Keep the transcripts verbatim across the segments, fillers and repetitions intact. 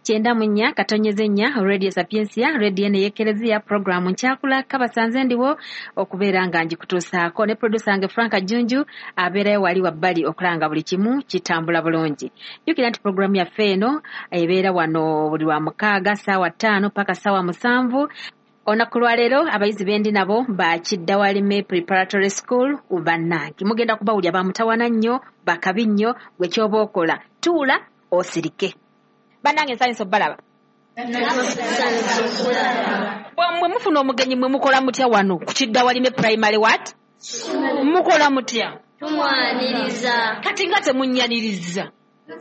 Kyenda mu nnya katonyeze nnya Radio Sapientia, radio eno ey'Ekereziya, programu Nkyakula Kabasanze ndiwo okubeera nga ngikutuusaako ne producer wange Frank Junju abeerayo wali wabbali okulanga buli kimu kitambula bulungi. Jjukira nti programu yaffe eno ebeera wano buli lwa mukaaga ssaawa ttaano paka ssaawa musanvu. Olunaku lwaleero abayizi bendi nabo ba Kiddawalime Preparatory School bannange mugenda kubawulya bamutawana nnyo bakabi nnyo gwe ky'oba okola tuula osirike. Bannange nsanyusa obbalaba. Mwe mufuna omugenyi mwe mukola mutya wano ku Kiddawalime Primary what? Mukola mutya? Tumwaniriza. Kati nga temunnyaniriza.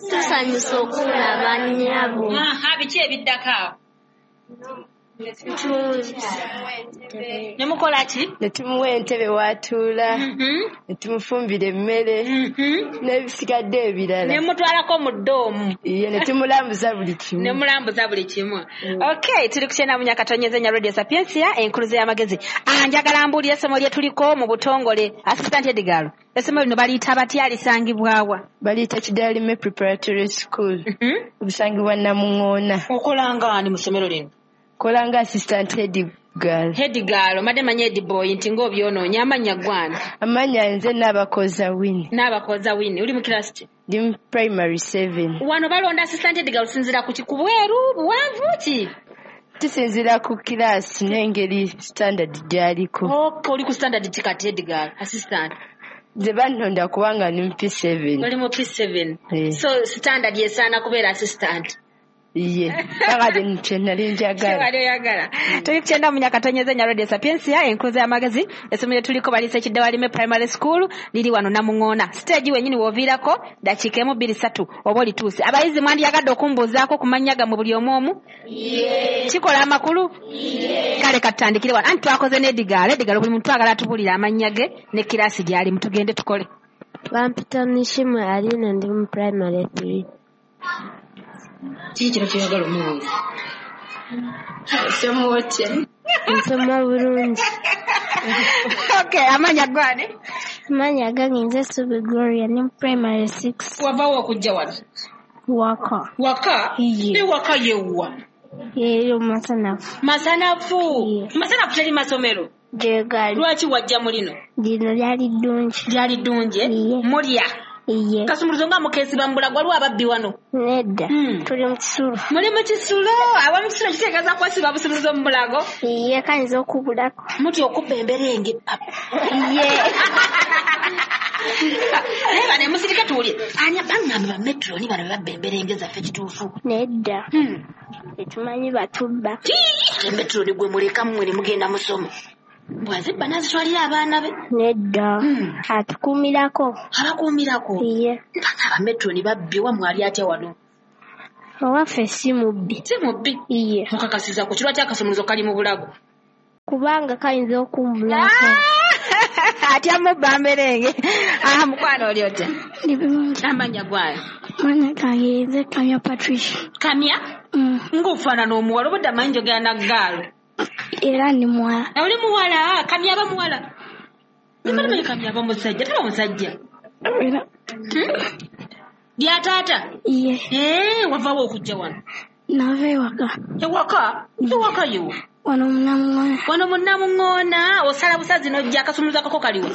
Tusanyusa okulaba nnyabo. Aha, biki ebiddako awo? Ne mukola ki? Ne tumuwa entebe w'atuula, ne tumufumbira emmere, n'ebisigadde ebirala. Ne mutwalako mu ddoomu. Iye, ne tumulambuza buli kimu. Ne mulambuza buli kimu. Okay, tuli ku kyenda mu nnya katonyeze nnya Radio Sapientia, enkuluze y'amagezi. Ah, njagala mbuulire essomo lye tuliko mu butongole. Assistant Edgar, essomo lino baliyita batya, lisangibwa wa? Baliyita Kiddawalime Preparatory School. Lisangibwa Namuŋŋoona. Okola nga ani mu ssomero lino? Kola nga assistant head girl. Head girl, madde manyi head boy nti ng'obyonoonya amannya gwana. Amannya nze Naabakoza Winnie. Naabakoza Winnie, oli mu class ki? Ndi mu primary seven. Wano balonda assistant head girl osinziira ku ki? Ku bweru, buwanvu ki? Tusinziira ku class n'engeri standard gy'aliko. Okay, oli ku standard ki kati head girl, assistant? Nze bannonda kubanga ndi mu P seven. Oli mu P seven. Eh. So standard yesaana kubeera assistant. Iye, kakati kye nali njagala. Kye wali oyagala. Tuli ku kyenda mu nnya katonyeze nnya Radio Sapientia, enkuza y'amagezi. Essomero lye tuliko baliyise Kiddawalime Primary School, liri wano Namuŋŋoona. Siteegi wennyini w'oviirako ddakiika emu bbiri ssatu oba olituuse. Abayizi mwandiyagadde okumbuuzaako ku mannya gammwe buli omu omu? Kikola amakulu? Kale katutandikire wano. Anti twakoze ne Edgar. Edgar buli muntu agala atubuulire amannya ge ne kiraasi gy'alimu. Tugende tukole. Bampita Nishimwe Aline, ndi mu primary three. Kiki kino ky'oyagala omubuuza? Osoma otya? Nsoma bulungi. Okay, amannya gwani? Amannya gange nze Subi Gloria, ndi mu primary six. Wavaawo okujja wano? Waka. Waka? Iye. Ne waka yewwa? Eri Masanafu. Masanafu? Iye. Masanafu teri masomero? Gye gali. Lwaki wajja mu lino? Lino lyali ddungi. Lyali ddungi? Iye. Mulya? Iye. Kasumuluzo nga mukeesiba mu bulago, waliwo ababbi wano? Nedda. Mm. Tuli mu kisulo. Muli mu kisulo? Awa mu kisulo kitegeeza kwesiba busumuluzo mu bulago? Iye, kayinza okubulako. Mutya okubba emberenge papa. Iye. Naye bano musirike tuwulire. Ani baŋŋamba ba metroni bano babba emberenge zaffe kituufu? Nedda. Mm. Tetumanyi batubba. Ate metroni gwe muleka mmwe ne mugenda musoma. Bw'azibba n'azitwalira abaana be? Nedda. Mm. Atukuumirako. Abakuumirako? Iye. Mpaka abametroni babbi, wammwe ali atya wano? Owaffe si mubbi. Si mubbi? Iye. Mukakasiza ku kirwa ky'akasumuluzo kali mu bulago? Kubanga kayinza okumbulako. Atya mubba mberenge. Aha, mukwano oli otya? Ndi bulungi. Amannya gwayo? Amannya gange nze Kamya Patricia. Kamya? Mm. Ng'ofaanana omuwala, obudde amanyi njogera na ggaalo. Era ndi muwala. Oli muwala? Kamya aba muwala? Nimanyi Kamya aba musajja, taba musajja. Era. Lya taata? Iye. Eh, wavaawo okujja wano? Nava ewaka. Ewaka? Ewaka yo? Wano mu Namuŋŋoona. Wano mu Namuŋŋoona, osala busazi n'ojja, akasumuluzo akako kaliwa?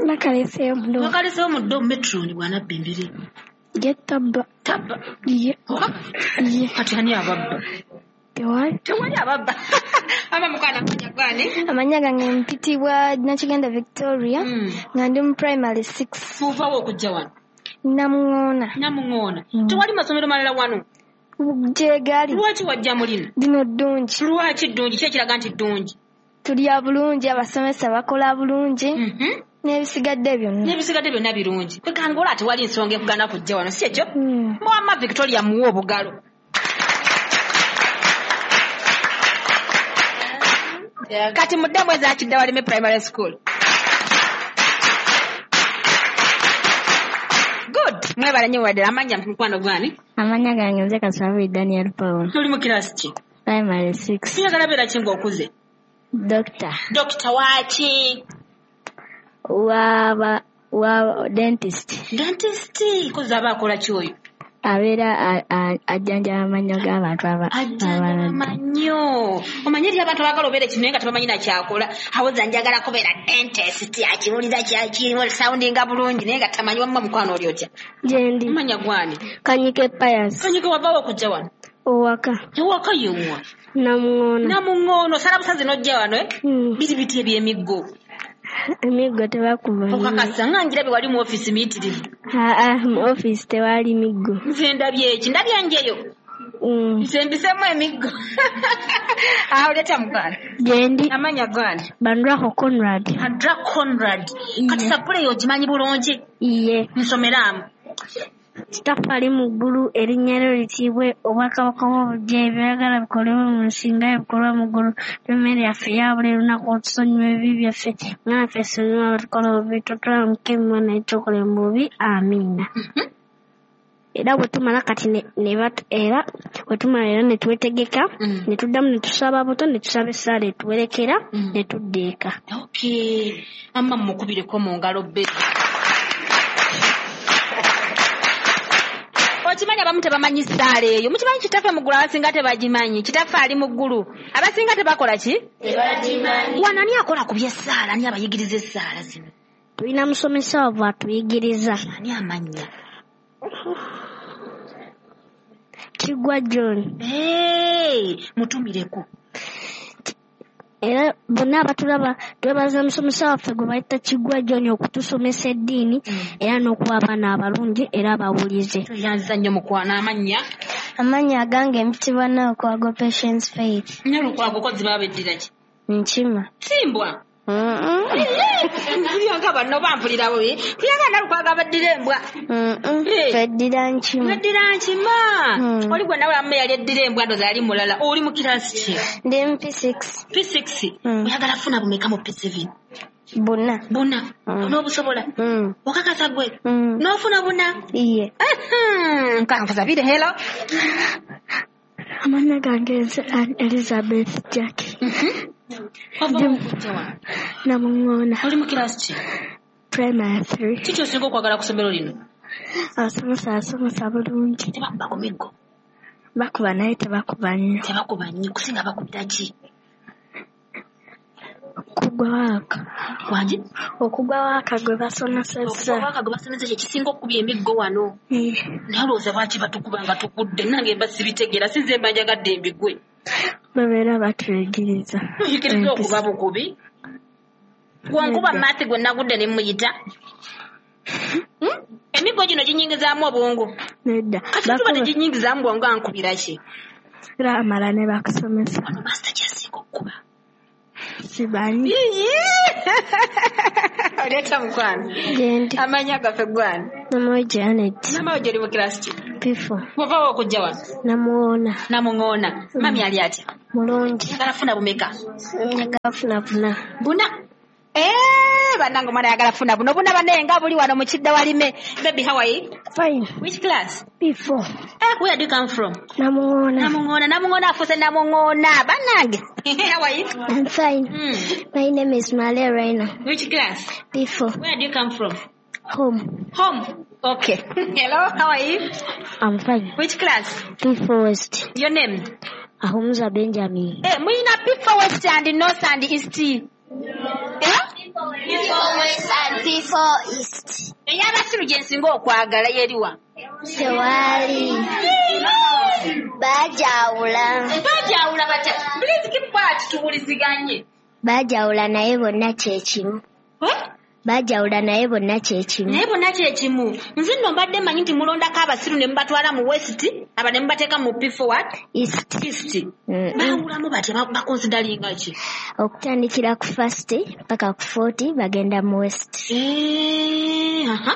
Nakaleseeyo mu ddoomu. Nakaleseeyo mu ddoomu, metroni bw'anabba embere. Ye tabba. Tabba? Iye. Iye. Kati ani ababba? Tewali. Tewali ababba. Ama mukwano amannya gwani? Amannya gange mpitibwa Nakiganda Victoria, nga ndi mu primary six. Muvaawo okujja wano? Namuŋŋoona. Namuŋŋoona. Tewali masomero malala wano? Gye gali. Lwaki wajja mu lino? Lino ddungi. Lwaki ddungi? Ki ekiraga nti ddungi? Tulya bulungi, abasomesa bakola bulungi. N'ebisigadde byonna. N'ebisigadde byonna birungi. Kwegamba olaba tewali nsonga ekugaana kujja wano, si ekyo? Mwama Victoria muwe obugalo. Kati muddemu eza Kiddawalime Primary School. Good. Mwebale nnyo wadde amannya mukwano gwani? Amannya gange nze Kasabuli Daniel Paul. Tuli mu class ki? Primary six. Oyagala beera ki ng'okuze? Doctor. Doctor waaki? Wa wa dentist. Dentist, kozi aba akola ki oyo? Abeera ajjanjaba amannyo g'abantu abalala. Amannyo. Omanyi eri abantu abaagala obeera ekintu naye nga tebamanyi na kyakola. Awoza njagala kubeera dentist, akiwulira kyakirimu soundinga bulungi naye nga tamanyi. Wamma mukwano oli otya? Gyendi. Manya gwani? Kanyike Pius. Kanyike wavaawo okujja wano? Owaka. Ewaka yewa? Namuŋŋoono. Namuŋŋoono. Osala busazi n'ojja wano eh? Mm. Biri biti eby'emiggo? Emiggo tebakuba. Okakasa nga ngirabye wali mu ofiisi miyitirivu. Aa, mu ofiisi tewali miggo. Nze ndabye eki? Ndabye njeyo. Mm. Nze mbisemu emiggo. Awo leeta mukwano. Gyendi. Amanya gwani? Bandrako Conrad. Bandra Conrad. Kati sappule eyo ogimanyi bulungi? Iye. Nsomeramu. Kitaffe ali mu ggulu, erinnya lyo litiibwe, obwakabaka bwo bujje, eby'oyagala bikolebwe mu nsi nga bwe bikolwa mu ggulu. Emmere yaffe eya buli lunaku, otusonyiwe ebibi byaffe nga naffe tusonyiwa abatukola obubi, totutwala mu kukemebwa naye tulokole mu bubi. Amiina. Era bwe tumala kati ne, ne bat, era bwe tumala era ne twetegeka, Mm. ne tuddamu ne tusaba buto, ne tusaba essaala etuwerekera, Mm. ne tudda eka. Okay. Amma mukubireko mu ngalo bbiri. Okimanyi abamu tebamanyi ssaala eyo. Mukimanyi kitaffe mu ggulu abasinga tebagimanyi. Kitaffe ali mu ggulu. Abasinga tebakola ki? Tebagimanyi. Wano ani akola ku by'essaala? Ani abayigiriza essaala zino? Tulina musomesa waffe atuyigiriza. Ani amannya? Kigwa John. Hey, mutumireko. Era bonna abatulaba twebaza musomesa waffe gwe bayita Kigwa John okutusomesa eddiini era n'okuba abaana abalungi era abawulize. Tweyanziza nnyo mukwano. Amannya? Amannya agange mpitibwa Nalukwago Patience Faith. Nalukwago ko ziba beddira ki? Nkima. Simbwa. Mpulira nga banno bampulira bubi. Mpulira nga Nalukwago abaddira embwa. Eh. Tweddira nkima. Weddira nkima. Mm. Oli gwe nawe amme yali eddira embwa ndowooza yali mulala. Oli mu kiraasi ki? Ndi mu P six. P six. Mm. Oyagala funa bumeka mu P seven? Buna. Buna. Mm. Onoobusobola? Mm. Okakasa gwe? Mm. N'ofuna buna? Iye. Nkanfusabire. Hello. Amannya gange nze Ann Elizabeth Jackie. Wava okujja wano? Namuŋŋoona. Oli mu kiraasi ki? Primary three. Kiki osinga okwagala ku ssomero lino? Abasomesa basomesa bulungi. Tebakuba ku miggo? Bakuba naye tebakuba nnyo. Tebakuba nnyo. Kusinga bakubira ki? Okugwa waaka. Wangi? Okugwa waaka gwe basomesezza. Okugwa waaka gwe basomesezza kye kisinga okukubya emiggo wano. Iye. Naye olowooza lwaki batukuba nga tugudde? Nange mba sibitegeera, si nze mba njagadde embigwe. Babeera batuyigiriza. Tuyigiriza okuba bukubi. Gwe nkuba maati gwe nagudde ne mmuyita. Hmm? Emiggo gino ginyingizaamu obwongo. Nedda. Kati tuba teginyingizaamu bwongo ankubira ki? Era amala ne bakusomesa. Wano master ky'asinga okukuba. Sibanyi. Oleeta mukwano. Gyendi. Amannya gaffe gwani? Namawe Janet. Namawe gy'oli mu kiraasi ki? P four. Wavaawo okujja wano? Namuŋŋoona. Namuŋŋoona. Mami ali atya? Mulungi. Njagala funa bumeka? Njagala funa buna. Buna? Eh, bannange omwana ayagala funa buno. Buna bannaye nga buli wano mu kidda walime. Baby, how are you? Fine. Which class? P four. Eh, where do you come from? Namuŋŋoona. Namuŋŋoona. Namuŋŋoona afuuse Namuŋŋoona. Bannange. How are you? I'm fine. Mm. My name is Malia Reina. Which class? P four. Where do you come from? Home. Home. Okay. Hello, how are you? I'm fine. Which class? P four West. Your name? Ahumza Benjamin. Eh, muyina P four West and North and East. Eh? P four West and P four East. Ey'abasiru gye nsinga okwagala yeriwa? Tewali. Baajawula. Baajawula batya? Please keep quiet tuwuliziganye. Baajawula naye bonna kye kimu. Eh? Baajawula naye bonna kye kimu. Naye bonna kye kimu. Nze nno mbadde mmanyi nti mulondako abasiru ne mubatwala mu West, aba ne mubateeka mu P four what? East. East. Mm. Baawulamu batya? Bakonsidalinga ki? Okutandikira ku first paka ku forty bagenda mu West. Eh, aha.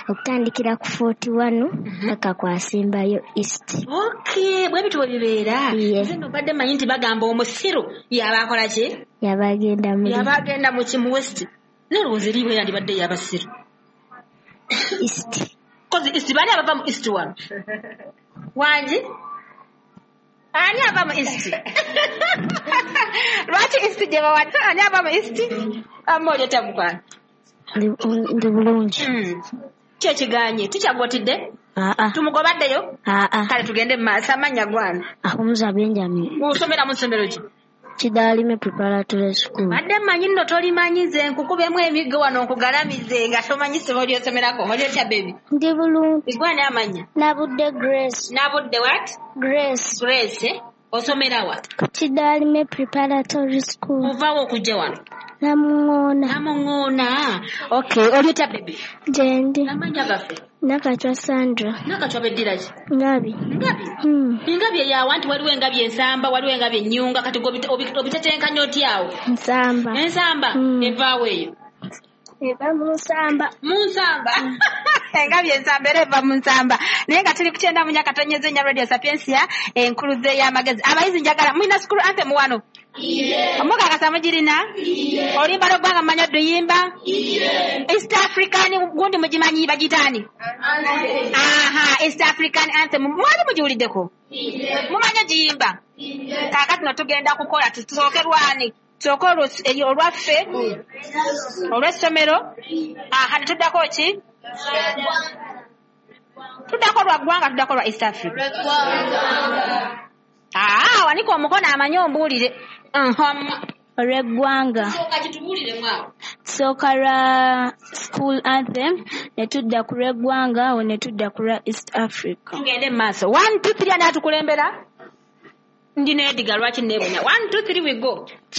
Okutandikira ku forty-one paka ku asembayo East. Okay, bwe bityo bwe bibeera. Yeah. Nze nno mbadde mmanyi nti bagamba omusiru yaba akola ki? Yaba agenda mu Yaba agenda mu ki mu West. Nalowooza eri bwe yandibadde ey'abasiru. East. Kozi East bani abava mu East wano? Wangi? Ani ava mu East? Lwaki East gye bawadde? Ani ava mu East? Amma oli otya mukwano? Ndi bulungi. Mm. Ki ekiganye? Tikyagwotidde? Aa. Tumugobaddeyo? Aa. Kale tugende mu maaso. Amannya gwana? Ahumuza Benjamin. Osomera mu ssomero ki? Kidaalime Preparatory School. Badde mmanyi nno tolimanyi, nze nkukubemu emiggo wano nkugalamize nga tomanyi ssomo ly'osomerako. Oli otya baby? Ndi bulungi. Gwani amannya? Nabudde Grace. Nabudde what? Grace. Grace, eh? Osomera wa? Kidaalime Preparatory School. Ovaawo okujja wano? Namuŋŋoona. Namuŋŋoona. Okay, oli otya baby? Gyendi. Amannya gaffe? Nakachwa Sandra. Nakachwa beddira ki? Ngabi. Ngabi? Hmm. Ngabi eyawa nti waliwo engabi ensamba, waliwo engabi ennyunga, kati gwe obitetenkanya otya awo? Nsamba. Ensamba? Hmm. Evaawo eyo? Eva mu nsamba. Mu nsamba. Engabi ensamba era eva mu nsamba. Naye nga tuli ku kyenda mu nnya katonyeze nnya Radio Sapientia, enkuluze y'amagezi. Abayizi njagala, mulina school anthem wano? Omukakasa mugirina? Oluyimba lw'eggwanga mumanyi oduyimba? East African gundi mugimanyi bagiyita ani? Aha, East African anthem mwali mugiwuliddeko? Mumanyi ogiyimba? Kaakati no tugenda kukola tusooke lwani? Tusooke olwaffe olw'essomero, aha, ne tuddako ki? Tuddako lwa ggwanga, tuddako lwa East Africa. Ah, wanika omukono amanyi ombuulire. Olw'eggwanga. Sooka kitubuuliremu awo. Tusooka lwa school anthem, ne tudda ku lw'eggwanga, awo ne tudda ku lwa East Africa. Tugende mu maaso. One, two, three, ani atukulembera? Ndi neediga lwaki neebunya. One, two, three, we go.